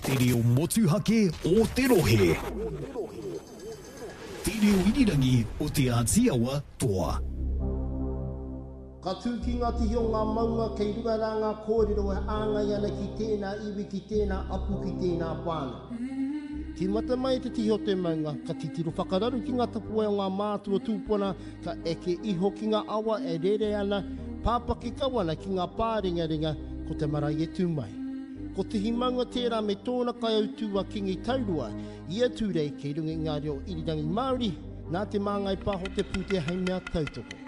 Te reo motuhake o te rohe. Te reo irirangi o Te Āti Awa Toa. Ka tū ki ngā tihi o ngā maunga kei runga rā ngā kōrero e āngai ana ki tēnā iwi, ki tēnā apu, ki tēnā whānau. Tīmata mai i te tihi o te maunga, ka titiro whakararu ki ngā tapuwae o ngā mātua tūpuna, ka eke iho ki ngā awa e rere ana, pāpaki kau ana ki ngā pārengarenga, ko te marae e tū mai. Ko Tihi Maunga tērā me tōna kaiautū a Kingi Taurua, i a Tūrei kei runga i ngā reo irirangi Māori, nā Te Māngai Pāho te pūtea hei mea tautoko.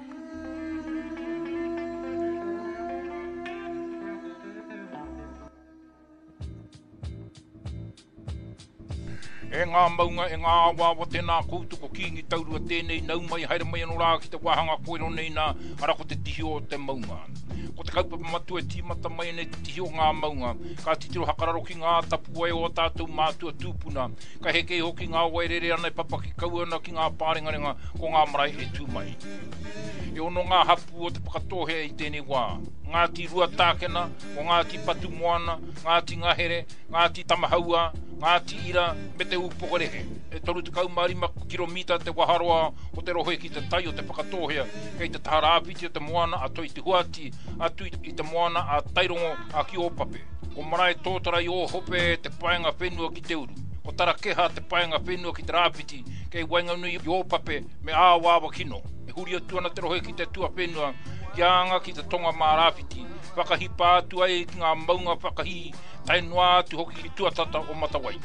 E ngā maunga, e ngā awaawa, tēnā koutou, ko Kīngi Taurua tēnei, nau mai, haere mai anō rā ki te wāhanga kōrero nei nā, arā ko te tihi o te maunga. Ko te kaupapa matua e tīmata mai ana i te tihi o ngā maunga, ka titiro hakararo ki ngā tapuwae o ō tātou mātua tūpuna, ka heke iho ki ngā wai rere ana e papaki kau ana ki ngā pārengarenga ko ngā marae e tū mai. E ono ngā hapū o Te Whakatōhea i tēnei wā, Ngāti Ruatākena, ko Ngāti Patumoana, Ngāti Ngahere, Ngāti Tamahaua, Ngāti Ira me Te Ūpokorehe. E 35 kiromita te waharoa o te rohe ki te tai o Te Whakatōhea, kei te taha rāwhiti o te moana a Toitehuati, atu i te moana a Tairongo a ki Ōpape. Ko Marae Tōtara i Ōhope te paenga whenua ki te uru. Ko Tarakeha te paenga whenua ki te rāwhiti, kei waenganui i Ōpape me Āwaawakino. E huri atu ana te rohe ki te tuawhenua, kia anga ki te tonga mā rāwhiti, whakahipa atu ai ki ngā maunga whakahī, tae noa atu hoki ki tuatata o Matawai.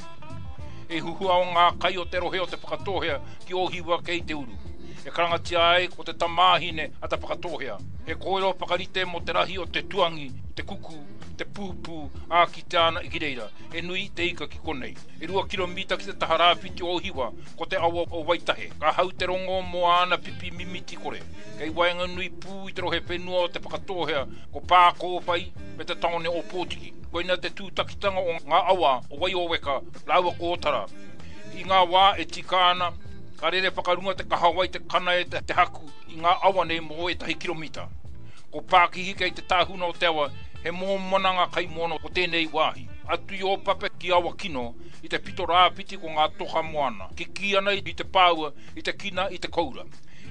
E huhua o ngā kai o te rohe o Te Whakatōhea ki Ōhiwa kei te uru. E karangatia ai ko te tamāhine a Te Whakatōhea. He kōrero whakarite mō te rahi o te tuangi, te kuku, te pūpū, ā, kitea ana ki reira. He nui te ika ki konei. E rua kiromita ki te taha rāwhiti o Ōhiwa, ko te awa o Waitahe. Ka hau te rongo mō āna pipi mimiti kore. Kei waenganui pū i te rohe whenua o Te Whakatōhea, ko Pākōwhai me te tāone o Ōpōtiki. Koina te tūtakitanga o ngā awa o Waioweka rāua ko Ōtara. I ngā wā e tika ana, ka rere whakarunga te kahawai te kana e te haku i ngā awa nei mō ētahi kiromita. Ko Pākihi kei te tāhuna o te awa, he mōmona ngā kaimoana o tēnei wāhi. Atu i Ōpape ki Awakino, i te pito rāwhiti ko ngā toka moana, kikī ana i te pāua, i te kina, i te koura.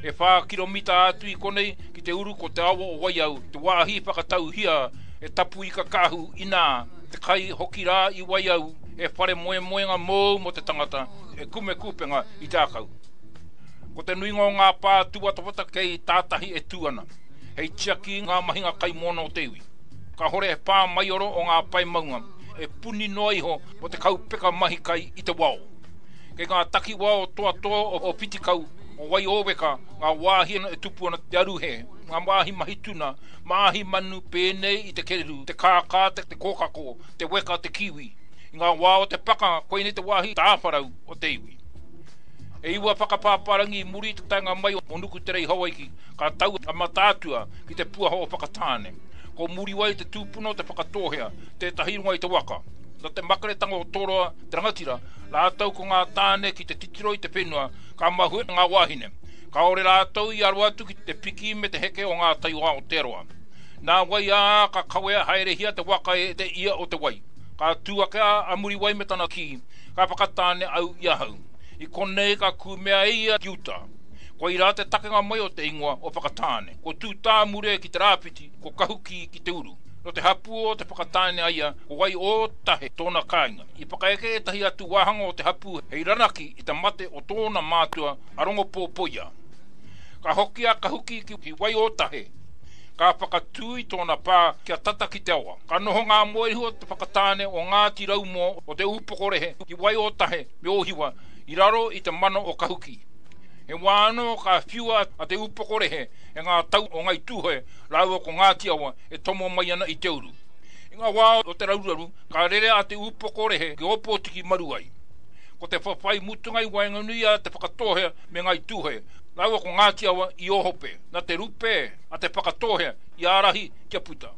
E whā kiromita atu i konei ki te uru ko te awa o Waiau, te wāhi whakatauhia e Tapuika Kāhu inā te kai hoki rā i Waiau he whare moemoenga mōu mō te tangata e kume kupenga i te ākau. Ko te nuinga o ngā pā tūwatawata kei tātahi e tū ana, hei tiaki i ngā mahinga kaimoana o te iwi. Kāhore he pā maioro o ngā pae maunga e puni noa iho mō te kaupeka mahi kai i te wao. Kei ngā takiwā o Toatoa o Whitikau, o Waiōweka, ngā wāhi e tupu ana te aruhe, ngā wāhi mahi tuna, māhi manu pēnei i te kererū, te kākā, te kōkako, te weka, te kiwi. I ngā wā o te pakanga, koinei te wāhi tāwharau o te iwi. E iwa whakapāpārangi i muri i te taenga mai o Nukutere i Hawaiki, ka tau a Mataatua ki te puaha o Whakatāne. Ko Muriwai te tūpuna o Te Whakatōhea, tētahi runga i te waka. Nā te makeretanga o Toroa, te rangatira, rātou ko ngā tāne ki te titiro i te whenua, ka mahue ngā wāhine. Kāore rātou i aro atu ki te piki me te heke o ngā tai o Aotearoa. Nāwai ā, ka kawea haerehia te waka e te ia o te wai. Ka tū ake a Muriwai me tana kī, Ka whakatāne au i ahau. I konei ka kūmea e ia ki uta. Koirā te takenga mai o te ingoa o Whakatāne. Ko Tūtāmure ki te rāwhiti, ko Kahukī ki te uru. Nō te hapū o Te Whakatāne a ia, ko Waiōtahe tōna kāinga. I whakaeke ētahi atu wāhanga o te hapū hei ranaki i te mate o tōna mātua a Rongopōpoia. Ka hoki a Kahuki ki Waiōtahe, ka whakatū i tōna pā kia tata ki te awa. Ka noho ngā moehu o Te Whakatāne o Ngāti Raumoa o Te Ūpokorehe ki Waiōtahe me Ōhiwa i raro i te mana o Kahuki. He wā anō ka whiua a Te Ūpokorehe e ngā tau o Ngai Tūhoe rāua ko Ngāti Awa e tomo mai ana i te uru. I ngā wā o te raruraru, ka rere a Te Ūpokorehe ki Ōpōtiki maru ai. Ko te whawhai mutunga i waenganui i a Te Whakatōhea me Ngāi Tūhoe, rāua ko Ngāti Awa i Ōhope, nā te rupe a Te Whakatōhea i ārahi kia puta.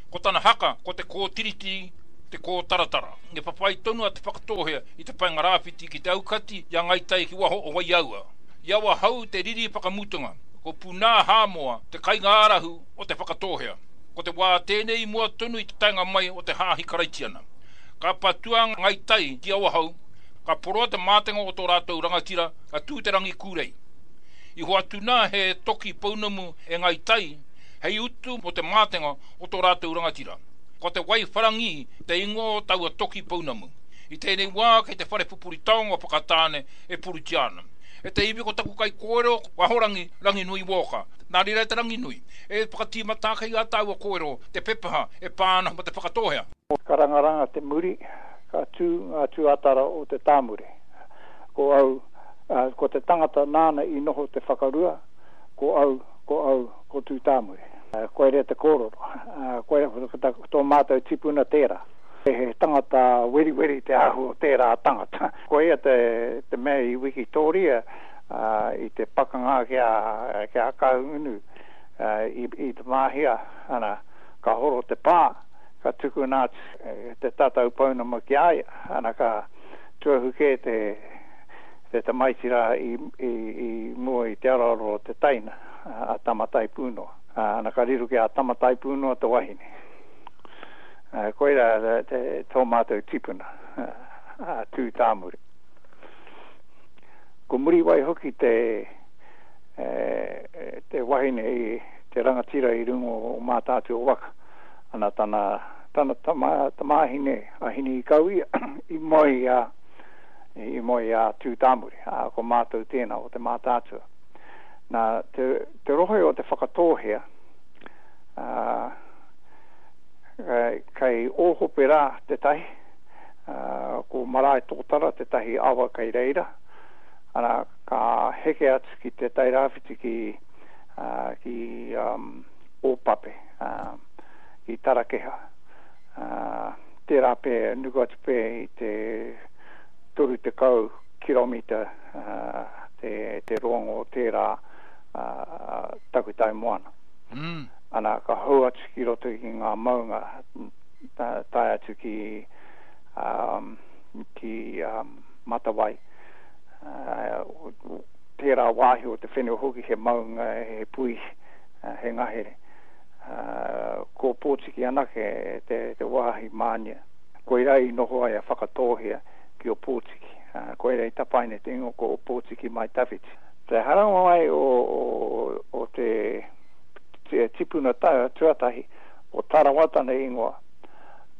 Ko tana haka ko te kōtiritiri, te kōtaratara. I whawhai tonu a Te Whakatōhea i te paenga rāwhiti ki te aukati i a Ngāi Tai ki waho o Waiaua. I Awahou te riri whakamutunga, ko Punā Hāmoa te kaingārahu o Te Whakatōhea. Ko te wā tēnei i mua tonu i te taenga mai o te hāhi Karaitiana. Ka patua Ngai Tai ki Awahou, ka poroa te mātenga o tō rātou rangatira, ka tū te rangi kūrei. I hoatu nā he toki pounamu e Ngai Tai hei utu mō te mātenga o tō rātou rangatira. Ko te wai wharangī te ingoa o taua toki pounamu. I tēnei wā kei te whare pupuri taonga o Whakatāne e puritia ana. E te iwi ko taku kaikōrero ko Ahorangi Ranginui Walker. Nā reira e te Ranginui, e whakatīmata ake i ā tāua kōrero te pepeha e pā ana mō Te Whakatōhea. Karangaranga te muri, ka tū ngā tuatara o te tāmure. Ko au, ko te tangata nāna i noho te whakarua, ko au, ko au, ko Tūtāmure. Koira te kōrero. Koira, ko tō mātou tipuna tērā. He tangata weriweri te āhua o tērā tangata. Koia te mea i wikitōria i te pakanga ki a Kahungunu i Te Māhia, ana, ka horo te pā, ka tukuna atu te tatau pounamu ki a ia, ana, ka tuahu kē te tamaiti rā i mua i te aroaro o te teina, a Tamataipūnoa. Ana, ka riro ki a Tamataipūnoa te wahine. Koirā tō mātou tipuna, a Tūtāmure. Ko Muriwai hoki te te wahine i te rangatira i runga o Mātaatua waka. Ana tana, tana tama, tamāhine a Hineikauia i moe i a, i moe i a Tūtāmure, ā, ko mātou tēnā o te Mātaatua. Nā, te, te rohe o Te Whakatōhea, ā, Kei Ōhope rā tētahi, ko Maraetōtara tētahi awa kei reira, arā, ka heke atu ki te tai rāwhiti ki, ki Ōpape, ki Tarakeha. Tērā pea, nuku atu pea i te 30 kiromita te roanga o tērā takutai moana. Ana, ka hou atu ki roto ki ngā maunga, tae atu ki, ki Matawai. Tērā wāhi o te whenua hoki he maunga, he puihi, he ngahere. Ko Pōtiki anake te wāhi mānia. Koirā i noho ai a Whakatōhea ki Ōpōtiki. Koirā i tapaina te ingoa ko Ōpōtiki Mai Tawhiti. Te haramai o te tipuna tuatahi o Tarawa tana ingoa,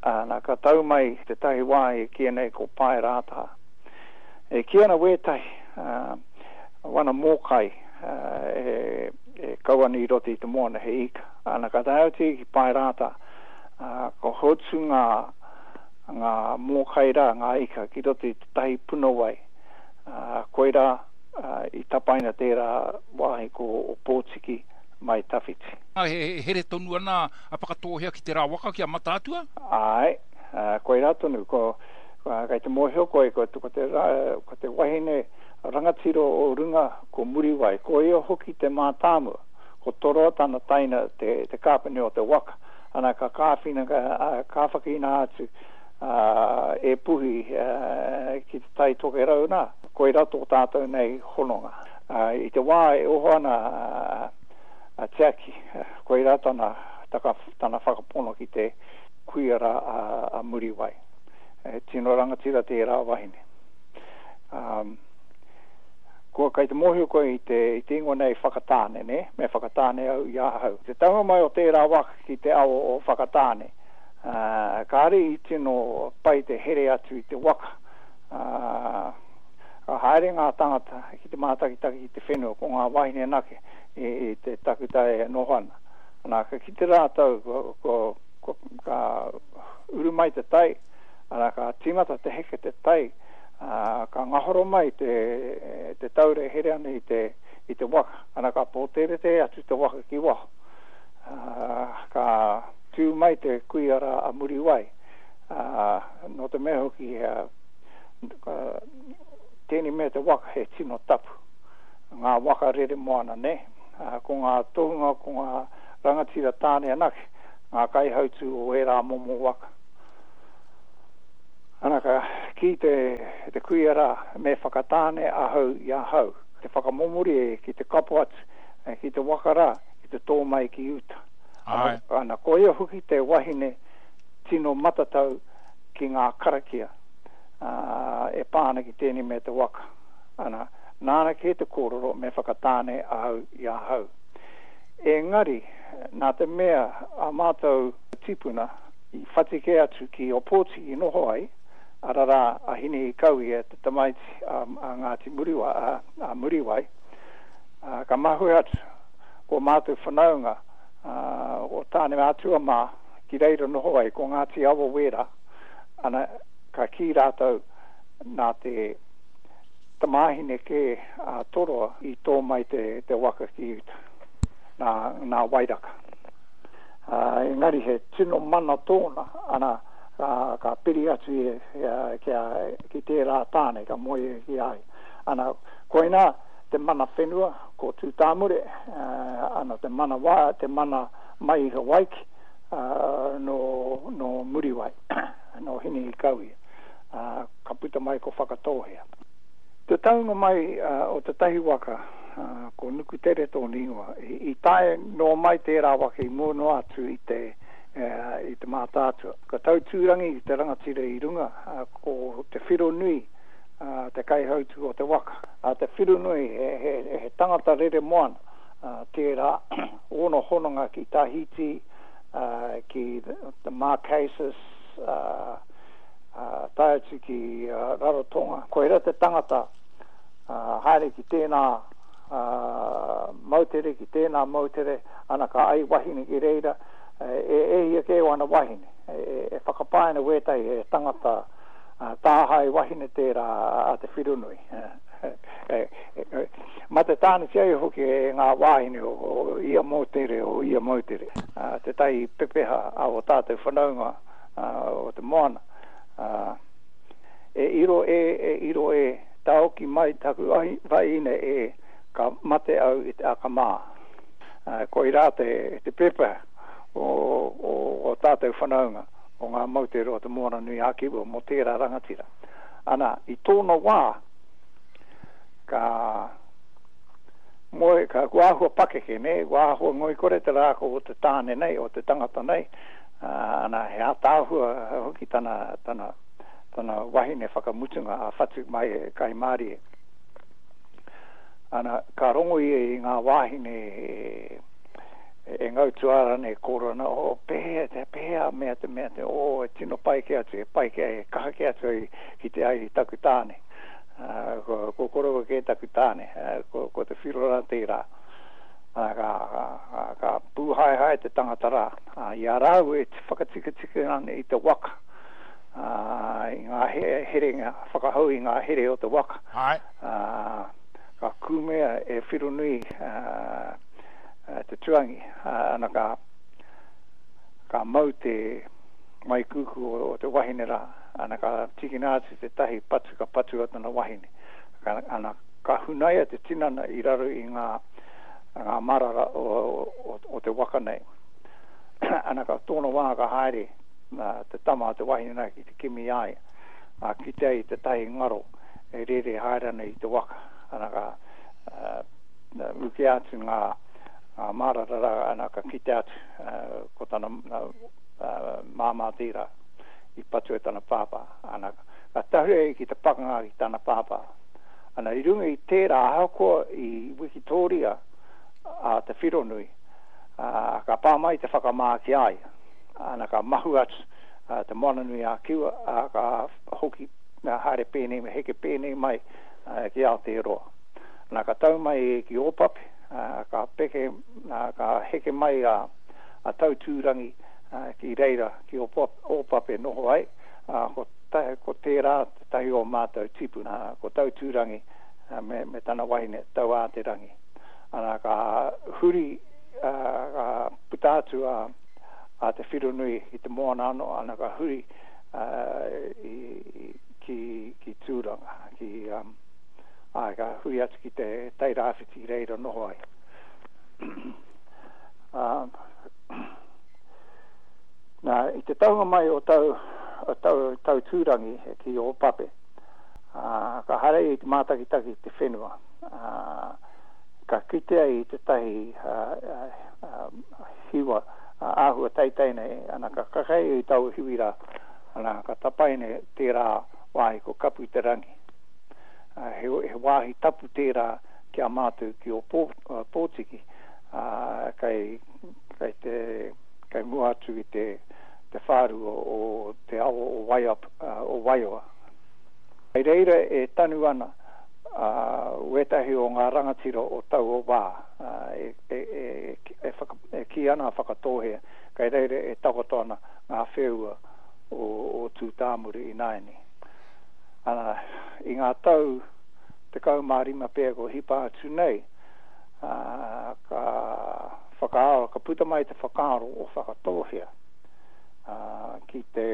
ana, ka tau mai tētahi wāhi e kīia nei ko Paerātā. E kī ana wētahi, wana mōkai e kau ana i roto i te moana, he ika. Ana, ka tae atu ki Paerātā, ka hotu ngā, ngā mōkai rā, ngā ika, ki roto i tētahi puna wai. Koirā i tapaina tērā wāhi ko Ōpōtiki mai tawhiti. E here tonu ana a Whakatōhea ki te rā waka ki a Mataatua? Āe, koirā tonu. Ko, kei te mōhio koe, ko te, ko te wahine rangatira o runga ko Muriwai, ko ia hoki te mātāmua. Ko Toroa tana taina te, te kāpene o te waka. Ana, ka kāwhina, ka kāwhakina atu e Puhi ki te Tai Tokerau nā. Koirā tō tātou nei hononga. I te wā e oho ana a Tiaki, koirā tana, tana whakapono ki te kuia rā a Muriwai. He tino rangatira tērā wahine. Kua kei te mōhio koe i te, i te ingoa nei Whakatāne, nē? Me whakatāne au i ahau. Te taunga mai o tērā waka ki te awa o Whakatāne, kāre i tino pai te here atu i te waka. Ka haere ngā tangata ki te mātakitaki i te whenua, ko ngā wāhine anake i te takutai e noho ana. Ana, ka kite rātou, ka uru mai te tai, ana, ka tīmata te heke te tai, ka ngahoro mai te taura e here ana i te waka, ana, ka pōteretere atu te waka ki waho. Ka tū mai te kuia rā a Muriwai, nō te mea hoki tēnei mea te waka he tino tapu. Ngā waka rere moana, nē? Ko ngā tohunga, ko ngā rangatira tāne anake, ngā kaihautū o ērā momo waka. Ana ka kī te, te kuia rā, me whakatāne ahau i ahau. Te whakamomori ki te kapo atu ki te waka rā, ki te tō mai ki uta. Ana, ana koia hoki te wahine tino matatau. ki ngā karakia e pā ana ki tēnei mea te waka. Ana, nāna kē te kōrero me whakatāne ahau i ahau. Engari, nā te mea ā mātou tīpuna i whati kē atu ki Ōpōtiki noho ai, ararā a Hinehikauia te tamaiti a Ngāti Muriwai, a Muriwai, ka mahue atu ko mātou whanaunga o Tāneatua mā ki reira noho ai, ko Ngāti Awa wērā, ana, ka kī rātou nā te tamāhine kē a Toroa i tō mai te, te waka ki uta, nā, nā Wairaka. Ā, engari he tino mana tōna, ana, ka, ka piri atu ia ki a, ki tērā tāne ka moe ia ki a ia. Ana, koinā te mana whenua, ko Tūtāmure, ana, te mana wā, te mana mai i Hawaiki, ā, nō, nō Muriwai, nō Hinehikauia. Ā, ka puta mai ko Whakatōhea. Te taunga mai o tētahi waka, ko Nukutere tōna ingoa, i tae noa mai tērā waka i mua noa atu i te, i te Mātaatua. Ka tau Tūrangi te rangatira i runga, ko Te Whironui te kaihautū o te waka. A Te Whironui he tangata rere moana tērā, ōna hononga ki Tahiti, ki the Marquesas, tae atu ki Rarotonga. Koirā te tangata haere ki tēnā moutere, ki tēnā moutere, ana ka ai wahine ki reira, e hia kē ōna wahine. E whakapae ana wētahi he tangata tāhae wahine tērā a Te Whironui. Mate tānetia ai hoki e ngā wāhine o ia moutere, o ia moutere. Tētahi pepeha a ō tātou whanaunga o te moana. E iro e, e iro e, tāoki mai taku wahine e, ka mate au i te akamā. Koirā te pepeha o ō tātou whanaunga o ngā moutere o Te Moananui-a-Kiwa mō tērā rangatira. Ana, i tōna wā, ka moe, ka, kua āhua pakeke, nē, kua āhua ngoikore te rākau o te tāne nei, o te tangata nei, ana, he ātaahua hoki tana, tana, tana wahine whakamutunga a Whatu mai e Kaimārie. Ana, ka rongo ia i ngā wāhine e, e ngau tuara nei kōrero ana, oh, pēhea, te, pēhea mea te mea te, oh, e tino pai kē atu, e pai kē, e kaha kē atu ai ki te ai i taku tāne. Uh, ko, ko koroua kē taku tāne, uh, ko, ko te whiro rā tērā. Uh, ka, ka, ka, ka pūhaehae te tangata rā. Uh, i a rāua e whakatikatika ana i te waka, uh, i ngā he, herenga, whakahou i ngā here o te waka. Ai. Uh, ka kūmea e Whironui uh, te tuangi, ana ka, ka mau te maikuku o, o te wahine rā, ana ka tīkina atu tētahi patu ka patua tana wahine. Ka, ana ka hunaia te tinana i raro i ngā, ngā marara o, o, o te waka nei. ana ka tōna wā ka haere te tama a te wahine rā ki te kimi i a ia. Ā, kitea i tētahi ngaro e rere haere ana i te waka. Ana ka ukea atu ngā marara rā, ana ka kite atu ko tana māmā tērā i patua e tana pāpā. Ana ka tahuri ai ki te pakanga ki tana pāpā. Ana i runga i tērā ahakoa i wikitōria a Te Whironui, ka pā mai te whakamā ki a ia. Ana ka mahu atu Te Moananui-a-Kiwa, ā, ka hoki haere pēnei, heke pēnei mai ki Aotearoa. Nā, ka tau mai ki Ōpape, ka peke, ka heke mai a Tautūrangi ki reira, ki Ōpape noho ai, ā, ko, ko tērā tētahi o mātou tīpuna, ko Tautūrangi me, me tana wahine, Tauāterangi. Ana, ka huri, ka puta atu a, a Te Whironui i te moana anō, ana ka huri i, ki, ki Tūranga, ki, um, āe, ka huri atu ki te Tai Rāwhiti i reira noho ai. Nā, i te taunga mai o tau, o tau, tau Tūrangi ki Ōpape, ā, ka haere ia i te mātakitaki i te whenua, ā, ka kitea i tētahi hiwa āhua teitei nei, ana ka kakai ia i taua hiwi rā, Ana, ka tapaina tērā wāhi ko Kapu te Rangi. He, he wāhi tapu tērā ki a mātou ki Ōpōtiki, ā, kei, kei te, kei mua atu i te, te whārua o te awa o Waiap, o Waiawa. Kei reira e tanu ana wētahi o ngā rangatira o taua wā, e, e, e, e, whaka, e kī ana a Whakatōhea, kei reira e takoto ana ngā wheua o, o Tūtāmure ināianei. Ana, i ngā tau 15 pea kua hipa atu nei, ā, ka whakaaro, ka puta mai te whakaaro o Whakatōhea, ā, ki te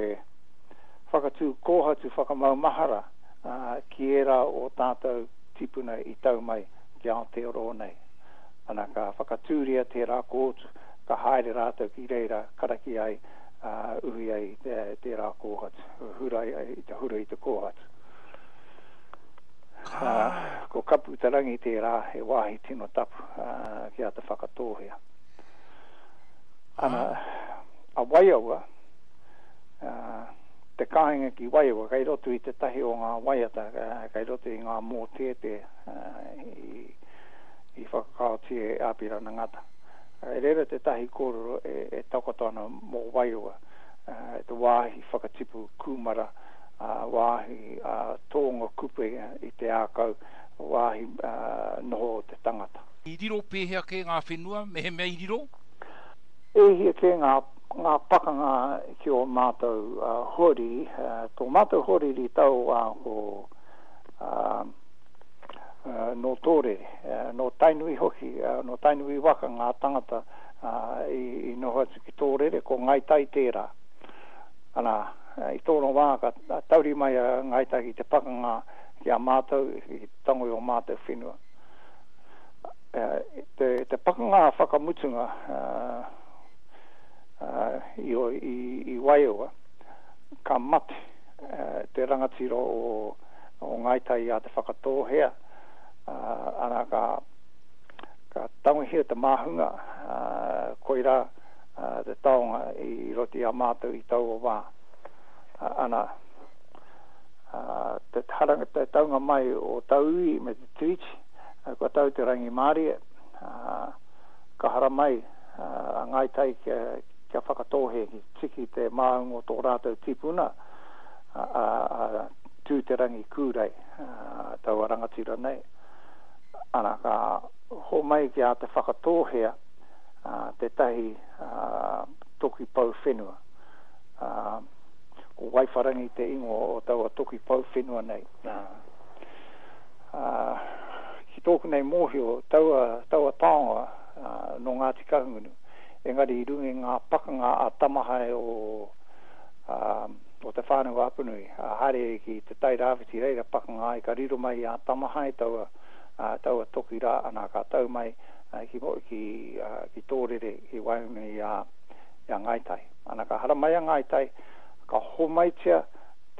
whakatū kōhatu whakamaumahara, ā, ki ērā o tātou tīpuna i tau mai ki Aotearoa nei. Ana, ka whakatūria tērā kōhatu, ka haere rātou ki reira karakia ai, ā, uhi ai tērā kōhatu, hura ai i te hura i te kōhatu. Ā, ko Kapu-te-rangi tērā, he wāhi tino tapu ki a Te Whakatōhea. Ana, a Waiaua, ā, te kāinga ki Waiaua, kei roto i tētahi o ngā waiata, kei roto i ngā mōteatea i, i whakakaotia e Apirana Ngata. Kei reira tētahi kōrero e takoto ana mō Waiaua, te wāhi whakatipu kūmara, wāhi tōnga kupe i te ākau, wāhi noho o te tangata. I riro pēhea kē ngā whenua, mehemea i riro? E hia kē ngā ngā pakanga ki ō mātou hoariri, tō mātou hoariri i taua wā ko nō Tōrere, nō Tainui hoki, nō Tainui waka ngā tangata i noho atu ki Tōrere, ko Ngāi Tai tērā. Ana, i tōna wā ka tauri mai a Ngāi Tai ki te pakanga ki a mātou, ki te tango i ō mātou whenua. Te, te pakanga whakamutunga i, i, i Waiaua, ka mate te rangatira o o Ngāi Tai i a Te Whakatōhea, arā, ka, ka tangohia te māhunga, koirā te taonga i roto i a mātou i taua wā. Ana, te haranga, te taunga mai o tauiwi me te tiriti, kua tau te rangimārie, ka haramai a Ngāi Tai kia, kia Whakatōhea ki te tiki te māhunga o tō rātou tipuna, a Tūterangi Kūrei, taua rangatira nei, ana, ka homai ki a Te Whakatōhea tētahi toki pou whenua. Ko Waiwharangi te ingoa o taua toki pou whenua nei. Ki tōku nei mōhio, taua, taua taonga nō Ngāti Kahungunu, engari i runga i ngā pakanga a Tamahae o, o Te Whānau-a-Apanui, a haere ki Te Tai Rāwhiti, reira pakanga ai, ka riro mai i a Tamahae taua, taua toki rā, ana, ka tau mai ki, ki, ki Tōrere, ki waenganui i a, i a Ngāi Tai. Ana, ka haramai a Ngāi Tai, ka homaitia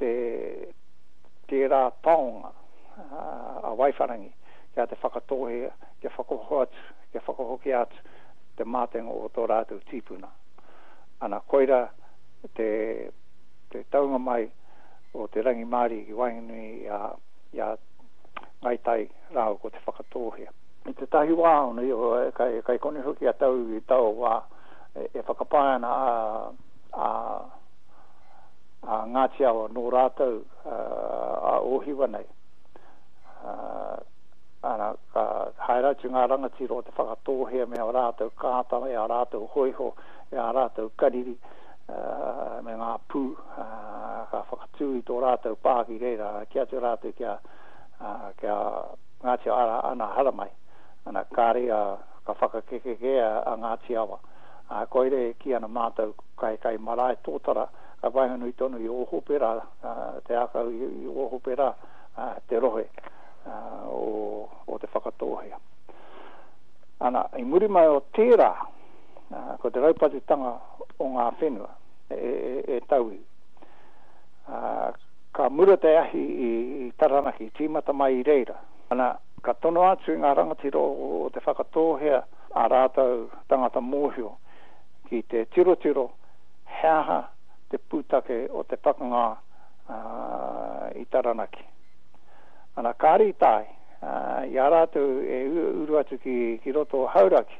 te, tērā taonga a Waiwharangi ki a Te Whakatōhea kia whakahoatu, kia whakahokia atu te mātenga o tō rātou tīpuna. Ana, koira te, te taunga mai o te rangimārie ki waenganui i a, i a Ngāi Tai rāua ko Te Whakatōhea. I tētahi wā, ona, kai, kai konei hoki a tauiwi i taua wā, e, e whakapae ana a, a, a Ngāti Awa nō rātou a Ōhiwa nei. Ana, ka haere atu ngā rangatira o Te Whakatōhea me ā rātou kāta, me ā rātou hōiho, me ā rātou kariri, me ngā pū, ka whakatū i tō rātou pā ki reira, kī atu rātou ki a, ki a Ngāti Awa, ana, haramai. Ana, kāre a, ka whakakekekē a Ngāti Awa. Ā, koira e kī ana mātou kai, kai marae tōtara, kai waenganui tonu i Ōhope rā, te ākau i Ōhope rā, te rohe o, o Te Whakatōhea. Ana, i muri mai o tērā, ko te raupatutanga o ngā whenua e tauiwi. Ka mura te ahi i Taranaki, tīmata mai i reira. Ana, ka tono atu i ngā rangatira o Te Whakatōhea ā rātou tangata mōhio ki te tirotiro he aha te pūtake o te pakanga i Taranaki. Ana, kāre i tae, i a rātou e uru atu ki roto o Hauraki,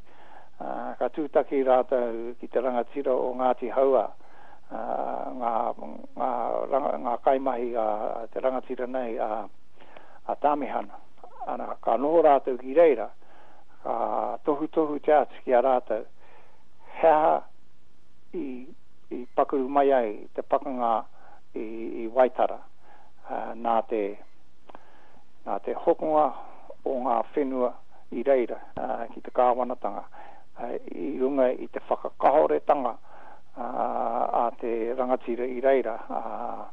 ka tūtaki rātou ki te rangatira o Ngāti Hauā, ngā kaimahi a te rangatira nei a Tāmihana. Ana, ka noho rātou ki reira, ka tohutohutia atu ki a rātou he aha i pakaru mai ai te pakanga i Waitara nā te, nā te hokonga o ngā whenua i reira ki te kāwanatanga i runga i te whakakahoretanga a te rangatira i reira a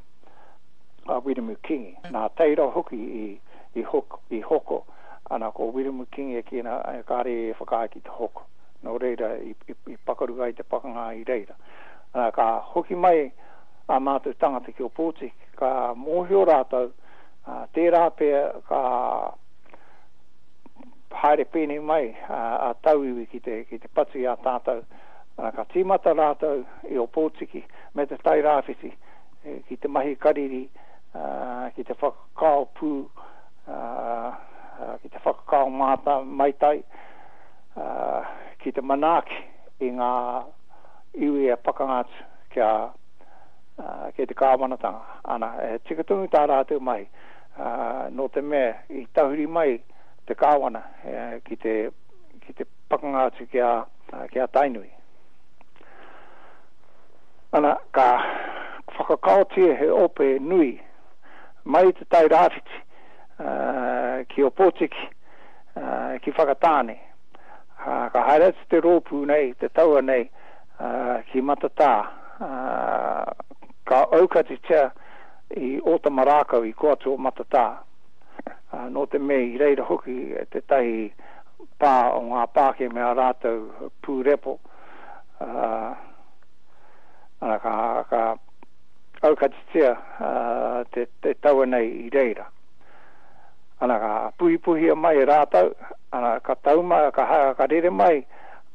Wiremu Kingi. Nā Teira hoki i hoko, ana ko Wiremu Kingi e kī ana kāre e whakaae ki te hoko. Nō reira i pakaru ai te pakanga i reira. Ana ka hoki mai ā mātou tangata ki Ōpōtiki, ka mōhio rātou, tērā pea ka haere pēnei mai a tauiwi ki te, ki te patu i a tātou. Ana ka tīmata rātou i Ōpōtiki me te Tai Rāwhiti ki te mahi kariri, ki te whakakao pū, ki te whakakao māta, maitai, ki te manaaki i ngā iwi e pakanga atu ki a, ki te kāwanatanga. Ana, he tika tonu tā rātou mahi, nō te mea i tahuri mai te kāwana ki te, ki te pakanga atu ki a, ki a Tainui. Ana, ka whakakaotia he ope nui mai i Te Tai Rāwhiti ki Ōpōtiki, ki Whakatāne. Ka haere atu te rōpū nei, te taua nei, ki Matatā. Ka aukatitia i Ōtamarākau, i kō atu o Matatā. Nō te mea i reira hoki tētahi pā o ngā Pākehā me ā rātou pū repo, ana, ka aukatitia te taua nei i reira. Ana, ka puhipuhia mai e rātou, ana, ka tau mai, ka rere mai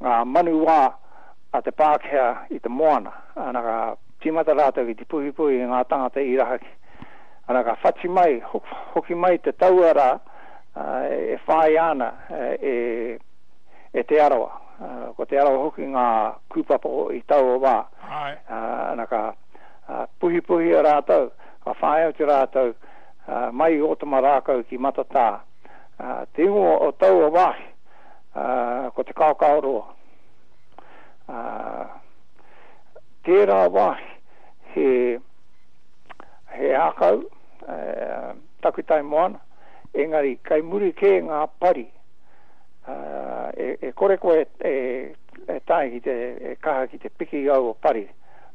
ngā manu wā a te Pākehā i te moana. Ana, ka tīmata rātou ki te puhipuhi i ngā tangata i rahaki. Ana, ka whati mai, hoki mai te taua rā e whāia ana e Te Arawa. Ko Te Arawa hoki ngā kūpapa i taua wā. Ana, ka puhipuhia rātou, ka whāia atu rātou mai i Ōtamarākau ki Matatā. Te ingoa o taua wāhi, ko Te Kaokaoroa. Tērā wāhi he, he ākau, takutai moana, engari kei muri kē ngā pari. E kore koe e tae ki te, e kaha ki te piki i aua pari.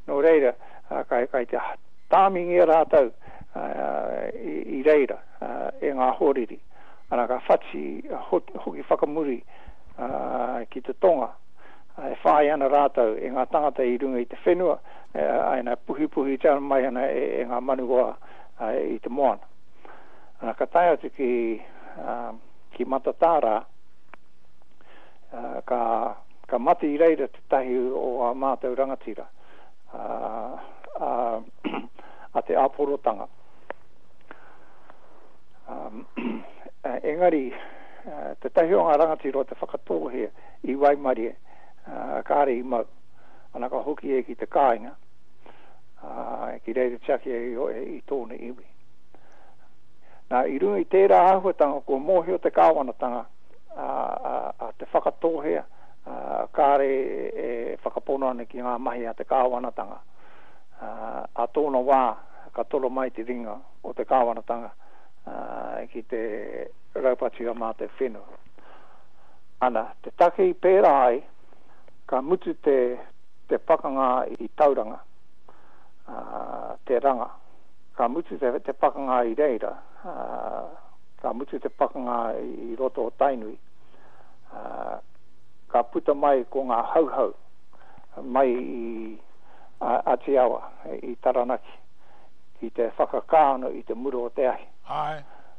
Nō reira, kai te tāmingia rātou i reira e ngā hoariri. Ana, ka whati hoki whakamuri ki te tonga, e whāia ana rātou e ngā tangata i runga i te whenua, āna, puhipuhitia mai ana e ngā manu roa i te moana. Ana, ka tae atu ki, ki Matatā rā, ka, ka mate i reira tētahi o ā mātou rangatira, a, a Te Āporotanga. Engari, tētahi o ngā rangatira o Te Whakatōhea i waimarie, kāre i mau. Ana ka hoki ia ki te kāinga, ki reira tiaki ai i tōna iwi. Nā, i runga i tērā āhuatanga kua mōhio te kāwanatanga a Te Whakatōhea, kāre e whakapono ana ki ngā mahi a te kāwanatanga. Ā tōna wā ka toro mai te ringa o te kāwanatanga ki te raupatu i a mātou whenua. Ana, te take i pērā ai, ka mutu te, te pakanga i Tauranga, te ranga. Ka mutu te, te pakanga i reira, ka mutu te pakanga i roto o Tainui, ka puta mai ko ngā Hauhau mai i Atiawa, i Taranaki, ki te whakakā anō i te mura o te ahi. Āe.